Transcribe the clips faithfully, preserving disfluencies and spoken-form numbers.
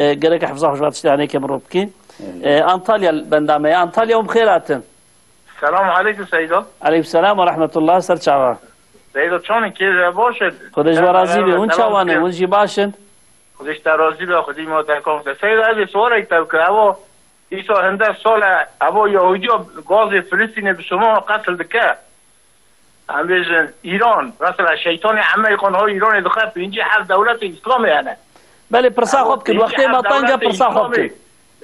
E, gerek hifza xwe ji van tiştê hanê ke mirov bikî. E, Antalya li benda me ye. Antalya hûn bi xêr hatin. Selam aleykum Seydo. Aleykum selam ve rahmetullah. Ser çava. Seydo, çawan in, kêf e, baş e? Xwedê ji we razî be. Hûn çawan in? Hûn jî baş in? Xwedê ji te razî be, Xwedê ma te kom te. Seydo, ez ê sualek te bikim. Evo, îso hinde sal e, evo Yahudiya gazê Filistînê bi Musulman qetil dike. Em bêjin Îran, mesela şeytanê Emerîkan ha Îranê dixe pêncî heft dewletê Îslamê hene. Belê, pirsa xwe bikin. Wextê me teng e, pirsa xwe bikin.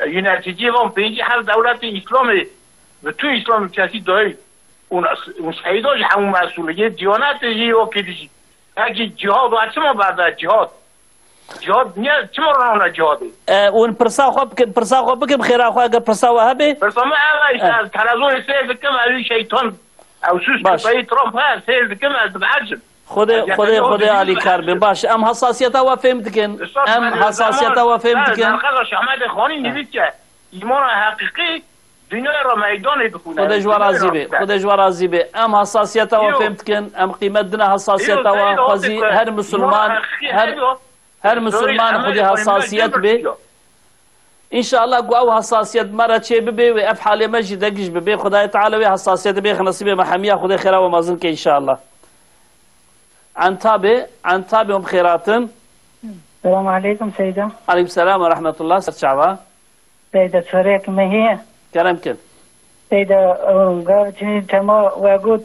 Yöneticî van pêncî heft dewletê Îslamê, bütün Îslam ülkesi dahil. Û, û Seyda jî hemû mesûl e. Yê Diyanetê jî wekî dijî. Pekî cihad, we çima berde cihad? Cihad niye, çima rana cihadê? E, hûn pirsa xwe bikin, pirsa xwe bikin, xêra xwe, eger pirsa we hebe. Pirsa me ev e, işte, ez televizonê seyr dikim, ev şeytan, ew süs köpeği Trump he, seyr dikim, ez dibehecim. Xwedê, Xwedê, Xwedê alîkar be. Baş, em hassasiyeta we fêm dikin. Em hassasiyeta we fêm dikin. Merhaba Şahmedê Xanî nivîske. Îmana heqîqî Dinyayê re meydanê dixwîne. Xwedê ji we razî be. Xwedê ji we razî be. Em hassasiyeta we fêm dikin. Em qîmet dine hassasiyeta we. Xwezî her misilman, her, her misilman xwedî hassasiyet be. Înşallah ku ew hassasiyet me re çê bibe wê ev halê me jî degiş bibe. Xwedayê Teala wê hassasiyetê bêxe nesîbê me hemiya. Xwedê xêra we mezin ke înşallah. Entabê, Entabê hûn bi xêr hatin. Selamu aleykum Seyda. Aleykum selam ve rahmetullah. Ser çava. Seyda, sorek me heye. Kerem kin. Seyda, e, gav çi tema we got,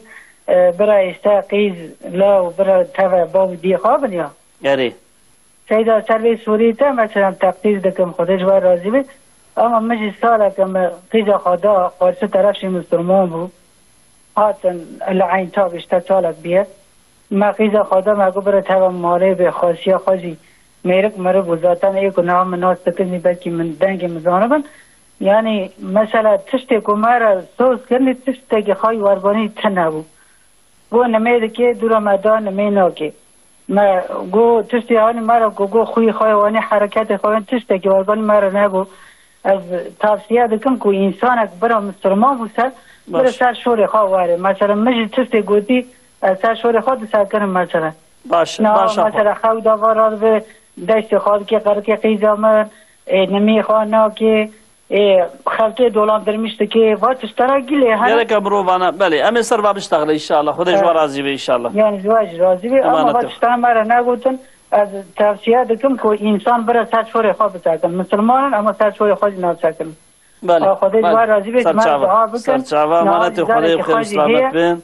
e, bira işte qîz, law, bira teve, bav, dî xwe bin ya. Erê. Seyda, ser vê sorî te, mesela, teqdîr dikim, Xwedê ji we razî be. Ama min jî saleke me qîza xwe da qarşî teref jî misilman bû. Hatin li Eyn Tab, işte salek bûye. Me qîza xwe da, me got bira teva malê bê, xasiya xwe jî mêrik mirib bû. Zaten ê ku niha min nas dikin jî belkî min dengê min zanibin. Yanî mesela tiştê ku me re soz kirinî, tiştekî xwe werbanî tune bû. Got nimê dike, dûra me da, nimê nake. Me got tiştê hanî me re ku got xwî xwe, wanî hereketê xwe, tiştekî werbanî me re nebû. Ez tavsiye dikim ku însanek bira misilman bû ser, bira ser şorê xwe were. Mesela min jî tiştê gotî, ez ser şorê xwe disekinim mesela. Baş e, baş e. Mesela xew da va radibe, destê xwe dike qerikê qîza min, ê, nimî xwe nake, ê, xelkê dolandırmış dike, va tiştana gilê hene. Gereke mirovana, belê, em ê ser va biştexile înşallah. Xwedê ji we razî be înşallah. Yani ji we jî razî be, ama va tiştana me re negotin. Ez tavsiye dikim ku însan bira ser şorê xwe bisekin. Misilman in, ama ser şorê xwe jî nasekin. Belê. Xwedê ji we razî be, ji me re dua bikin. Serçava, emanetê Xwedê, bi xêr û selamet bin.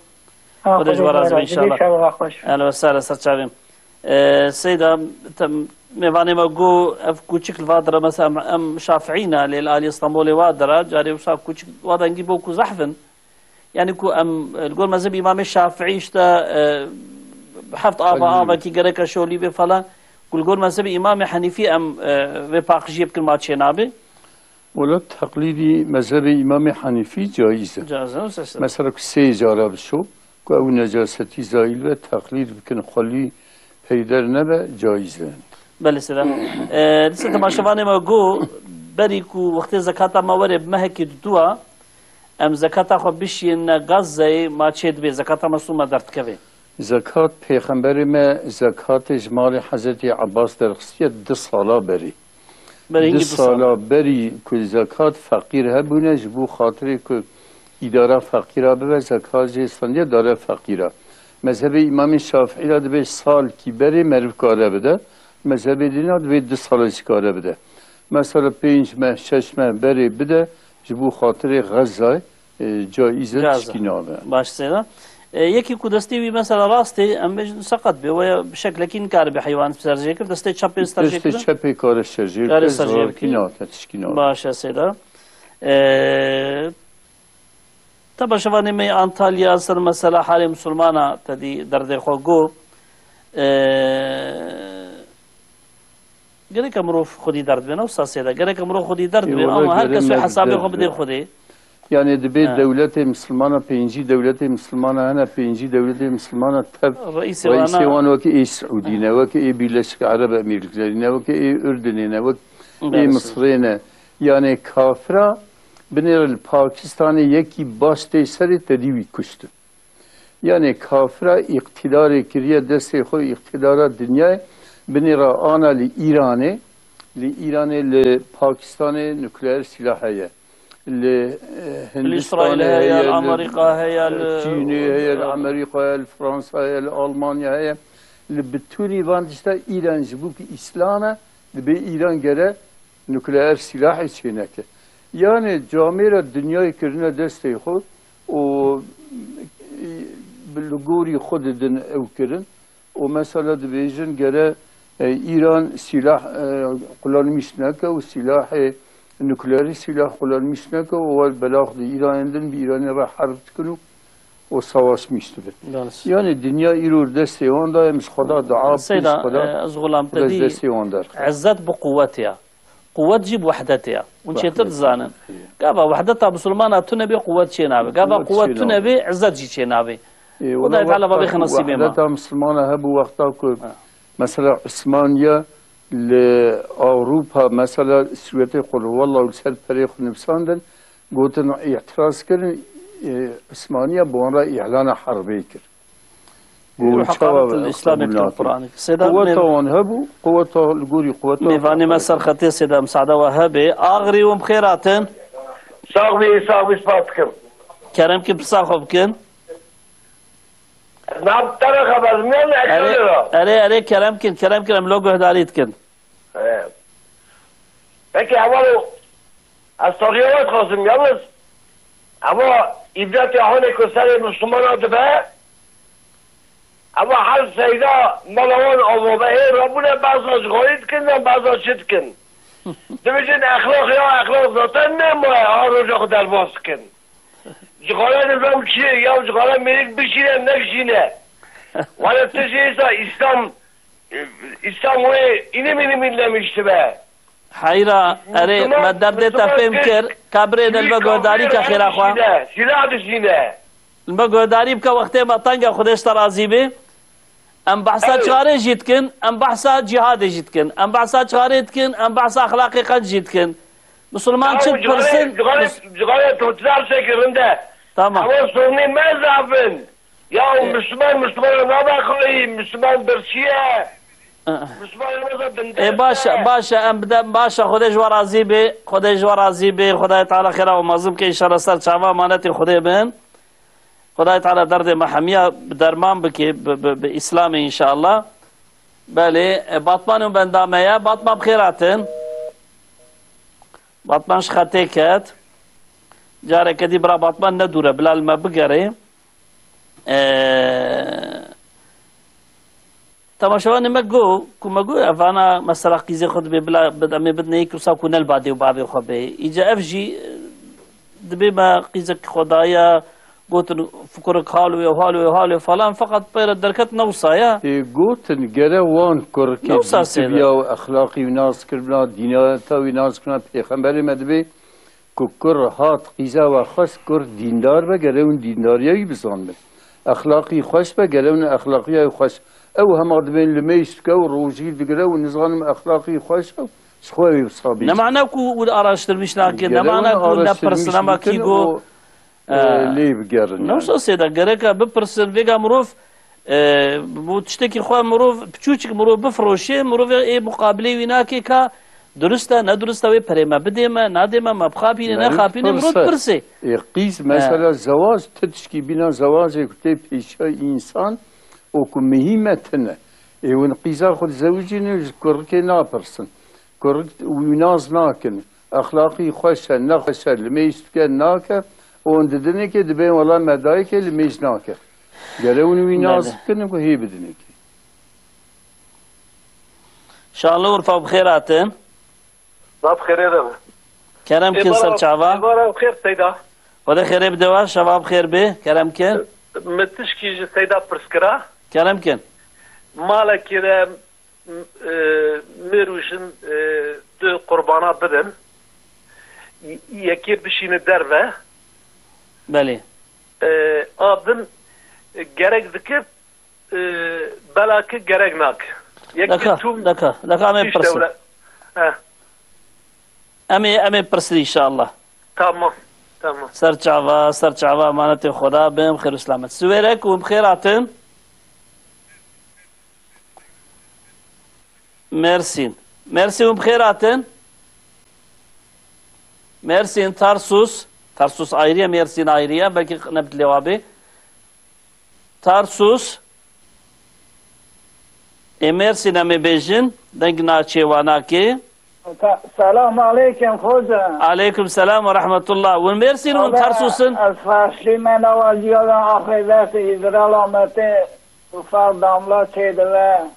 Xwedê ji we razî be înşallah. Ehlen ve sehlen, serçavê. E, Seyda, te, mêvanê me got, ev kûçik li va dire, mesela em, em Şafiî ne, lê li alî Stenbolê wa dire, carê wisa kûçik wa dengî bo ku zehf in. Yani ku em, e, li gor mezhebê Îmamê Şafiî işte, e, heft ava, avekî gereke şolî be falan. Ku li gor mezhebê Îmamê Henîfî em, e, vê paqijiyê bikin, ma çê nabe? Wela teqlîdî mezhebê Îmamê Henîfî caiz e. Caiz e, sestir. Mesela ku sê cara bişo, ku ew necasetî zayîl be, teqlîd bikin, xwelî peyder nebe, caiz e. Belê seyda. E, dîsa temaşevanê me got, berî ku wextê zekata me were bi mehekî diduwa, em zekata xwe bişiyêne Gazeyê, ma çê dibe, zekata me sû me derdikeve. Zekat, Pêxemberê me zekatê ji malê Hezretî Ebbas derxistiye du sala berê. Berê hingî du sala berî ku zekat feqîr hebûne, ji bo xatirê ku îdara feqîra bibe, zekat jê stendiye dare feqîra. Mezhebê Îmamê Şafiî de dibê salkî berê meriv kare bide, mezhebê dîna dibê du sala jî kare bide. Mesela pênc meh, şeş meh berê bide, ji bo xatirê Xezayê, e, caiz e, tişkî nabe. Baş seyda. E, yekî ku destê wî mesela rastê, em bêjin seqet be, we bi şeklekî nikaribe heywan serjê kir, destê çepê serjê kir. Destê çepê kare serjê bike, zarokî nake, tişkî nabe. Baş e seyda. E, Temaşevanê me yê Antalya ser mesela halê misilmana te dî derdê xwe got. E, Gereke mirov xwedî derd bê, ne wisa seyda. Gereke mirov xwedî derd bê, ama her kes wê hesabê xwe bidê Xwedê. Yani dibê dewletê misilmana, pêncî dewletê misilmana hene, pêncî dewletê misilmana tev reîsê wan weke ê Siûdî ne, weke ê Birleşik Arab Emirliklerî ne, weke ê Ürdünê ne, weke ê Misirê ne. Yani kafira binêre li Pakistanê yekî baş tê serê tedî wî kuştin. Yani kafira îqtîdarê kiriye destê xwe îqtîdara dinyayê, binêre ana li Îranê, Li Îranê, li Pakistanê nukleer sîlah heye. Li, e, Li Îsraîl Hindistanê heye, heye, li li Amerîka heye, li Çînê heye, li Amerîka heye, li Fransa heye, li Almanya heye. Li bitûnî van tişta Îran ji bo ku Îslam e, dibê Îran gere nukleer sîlahê çêneke. Yanî camêra dinyayê kirine destê xwe û, e, li gorî xwe didin ew kirin. Û mesela dibêjin gere, e, Îran sîlah, e, kullanmîş neke û sîlahê nukleerî sîlah kullanmîş neke û wer belax di Îranên din bi Îranê re herb dikin û, û savaşmîş dibin. Baş. Yanî dinya îro destê wan da, em ji Xweda dua bikin, Seyda, ji Xweda, e, ez xulam te Xweda ji dî, destê wan derxe. Izzet bi quwet ya. Quwet jî bi wehdetê ya. Hûn çêtir Wehdetê, dizanin. Gava wehdeta misilmana tune bê, quwet çê nabe. Gava Quwet quwet çê tune nabe. Bê, izzet jî çê nabe. Ê, Xwedayê wela Teala va wexta bêxe ku nasîbê me. Wehdeta misilmana hebû, wexta ku, Ha. mesela, Îsmaniye li Ewropa, mesela, Swêdê, qul huwallahu li ser perê xwe nivîsandin, gotin, îtiraz kirin, ê, Îsmaniye bi wan re îlana herbê kir. Got, Ruh çawa qalet îslamê qebûl nakin? Quranê. Seyda Quweta mêv-, wan hebû, quweta li gorî quweta mêvanê me ser xetê Seyda, misada we hebe. Axrî û bi xêr hatin. Sax bî, sax bî, spas dikim. Kerem kin, pirsa xwe bikin. Ez niha bi te re xeber didim, ne Erê, eşyanê re. Erê, erê, kerem kin, kerem kin, em lo guhdarî dikin. He. Peki, heval o, ez tariya we dixwazim, yalnız, eva îbretê hanê ku serê Müslümana dibe, eva her seyda mala wan ava be, ê rabûne, beza cixarî dikin, yan beza çi dikin? Dibêjin, exlaq ya, exlaq zaten nemaye, ha roja xwe derbas dikin. Cixare nizam çi ye? Ya cixare mêrik bişîne, nekişîne. Wele tu jî êsa Îslam, Îslam wê înim înim îlemişti be. Heyra, erê, Müslüman, me derdê te Müslüman fêm kir, kir, ka birê de li me guhdarî ke xêra xwe. Dişîne, silah dişîne. Li me guhdarî bike, wextê me teng e, Xwedê ji te razî bê. Em behsa Evet. çixarê jî dikin, em behsa cîhadê jî dikin, em behsa çixarê dikin, em behsa exlaqê xweş jî dikin. Misilman Ya çi bu cigare, dipirsin? Cigare, Mis- cigare tu çilar çekirinde. Tamam. Ama sorunê me zaf in. Ya o E- Müslüman, Müslüman nabe xayî, Müslüman birçiye. E- Müslüman nabe binde. E, baş e, baş e, em bide, baş e, Xwedê ji we razî bê, Xwedê ji we razî bê, Xwedayê Teala xêra we mezin bike, înşallah ser çava emanetê Xwedê bin. Xwedayê Teala derdê me hemiya bi derman bike, bi, bi, bi Îslamê înşallah. Belê, e, Batman û benda me ye. Batman bi xêr hatin. Batman ji xetê ket. Careke dî bira Batman ne dûr e, bila li me bigerê. E, Temaşevanê me got ku me got, evana mesela qîzê xwe dibê bila bid-, em ê bidinê yek wisa ku ne li ba dê û bavê xwe bê. Îca ev jî, e, dibê me qîzek xwe daye, gotin, "Fikirik hal wê, hal wê, hal wê" falan, feqet pê re derket ne wisa ye. Tê gotin, gere wan kurikê Ne wisa sê de. dîtibiya û exlaqî wî nas kiribna, dînata wî nas kiribna, pêxemberê me dibê, Ku kur hat qîza we xwest, kur dîndar be, gere hûn dîndariya wî bizanibin. Exlaqî xweş be, gere hûn exlaqiya wî xweş. Ew hema dibên limêj dike û rojî digire û nizanim exlaqî xweş e, ji xwe wê wisa bêjin. Ne mana ku hûn araştirmiş nakin, ne Gere mana hûn ku hûn nepirsin, araştirmiş ama bikin kî got, û, e, e, lê bigerin ne yani. Wisa sê de gereka bipirsin, vêga mirov E, bo tiştekî xwe mirov, piçûçik mirov bifiroşê, mirov ê muqabilê wî nake ka durist e, ne durist e, wê perê me bidê me, nadê me, me bixapînê, Meriv nexapînê, mirov pirse. dipirsê. Ê, qîz, He. mesela zewac, tu tişkî bîna zewacê ku tê pêşiya însan û ku mihîm e tune. Ê, hûn qîza xwe dizewicînin, ji kurikê napirsin. Kurik wî nas nakin. Exlaqî xweş e, nexweş e, limêj dike, nake. Û hûn didinekê dibên wela me dayikê limêj nake. Gere hûn wî nas Belê. bikin ku hê bidinekê. Şanlı Urfa bi xêr hatin. Nav xêrê de be. Kerem kin ser çava. Êvara bi xêr Seyda. Xwedê xêrê bide we, şeva bi xêr bê. Kerem kin. Min tişkî ji Seyda pirs kira. Kerem kin. Malekî de M-, e, mêr û jin, e, du qurbana bidin. Y-, yekê bişîne derve. Belê. E, a din, e, gerek dike, e, belakî gerek nake. Yekê Deka, tûm deka, deka em ê tişt pirsin. dewle-, He. Em ê, em ê pirsin înşallah. Tamam, tamam. Ser çava, ser çava, emanetê Xweda bin, xêr û selamet. Siwêrek û bi xêr hatin. Mersîn. Mersin, hûn bi xêr hatin. Mersin, Tarsus. Tarsus ayrı ye, Mersin ayrı ye. Belkî ne bi lêwa bê. Tarsus. Ê Mersin em ê bêjin. Deng naçê wa nakê. Se-, selam aleykum hoca. Aleykum selam ve rahmetullah. Hûn Mersin, hûn Tarsus in? Ez ferşî me newaziya axê dest îzrala me tê ufak damla çêdive.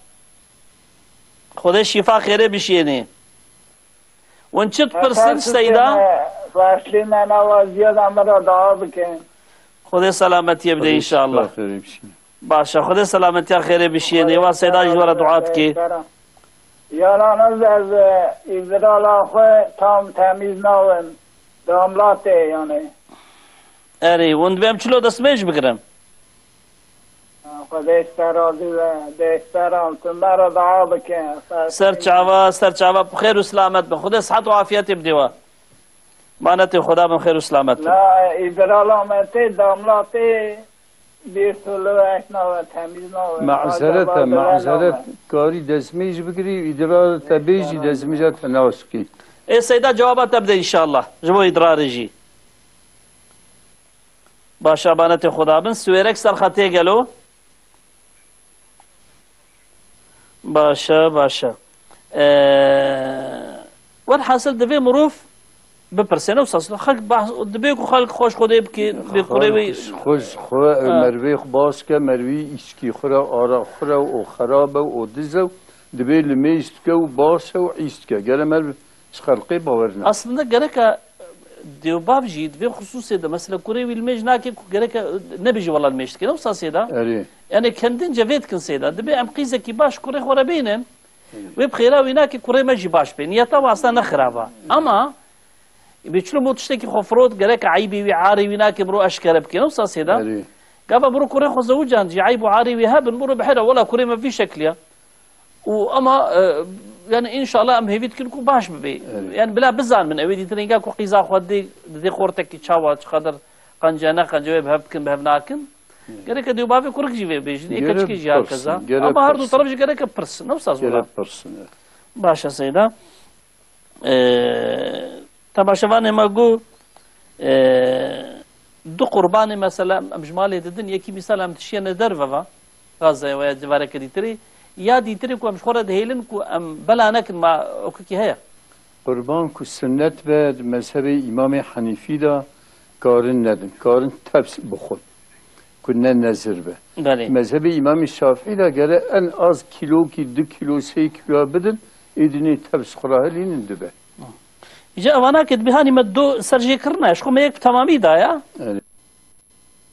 Xwedê şîfa xêrê bişênê. Hûn çi dipirsin, Seyda? Başlî me nava ziyada min re dua bikin. Xwedê selametiyê bide înşallah. Xêrê bişîne. Baş e, Xwedê selametiya xêrê bişînê. Wa Seyda ji we re dua dike. Yalnız ez, e, îzrala xwe tam temîz nawim. Damlatê yani. Erê, hûn dibê em çilo destmêj bigirin? Xwedê ji te razî be, dê ji te re, tu me re dua bike. Ser çava, ser çava, bi xêr û selamet bin. Xwedê sihet û afiyetê bidê we. Manetê Xweda bin xêr û selamet bin. La, îdrala me tê, damla tê, bir türlü ek nabe, temiz nabe. Mazeret e, mazeret. Karî destmêj bigirî, îdrar te bêjî, destmêja te naskî. Ê Seyda, cewaba te bide înşallah. Ji bo îdrarê jî. Baş e, manetê Xweda bin. Siwêrek ser xetê gelo. Baş e, baş e. Ee, welhasil divê mirov bipirse, ne wisa xelk bahs, divê ku xelk xweş Xwedê bike, bê kurê wê. Xweş xwe, Ha. Mervê xwe baş ke, mervî îçkî xwe re, ara xwe re, o xerab e, o diz e, divê limêj dike û baş e û îş dike. Gere merv Ji xelkê bawer ne. Aslında gereka dêwbav jî di vê xusûsê de, mesela kurê wî limêj nake ku gereka nebêje wela limêj dike. Ne wisa Seyda? Erê. Yani kendince vê dikin Seyda. Dibê em qîzekî baş kurê xwe re bînin. Wê bi xêra wî nake kurê me jî baş bê. Niyeta wasta ne xirab e. Ama bê çilo bo tiştekî xwe firot, gereka eybê wî, arê wî nake miro eşkere bike. Ne wisa Seyda? Erê. Gava miro kurê xwe zewicand jî eyb û arê wî hebin, miro bihêre wela kurê me vî şekliya. Û ama, e, yani înşallah em hêvî dikin ku baş bibe. Evet. Yani bila bizanibin, ew ê dîtin, înga ku qîza xwe didê, didê xortekî çawa, çiqadir qence ne qence wê bi hev bikin, bi hev nakin. Evet. Gereke dê û bavê kurik jî vê bêjin, ê keçikê jî hakeza. Ama her du teref jî gereke pirsin, ne wisa zû. Gerek pirsin, evet. Baş e Seyda. Ee, temaşevanê me got, ee, du qurbanê mesela em ji malê didin, yekî mîsal em dişiyene derve va, Gazzeya veya civareke dîtirî, ya dîtirî ku em ji xwe re dihêlin ku em bela nekin ma okekî heye. Qurban ku sunnet be di mezhebê Îmamê Henîfî de karin nedin, karin tevs bixwin. Ku ne nezir be. Belê. Mezhebê Îmamê Şafîî de gere en az kîlokî, du kîlo, sê kîloya bidin, êdî nê tevs xwe re hilînin dibe. Îca evana ke dibê hanî me do serjêkirina, ji xwe me yek bi temamî da ya. Erê.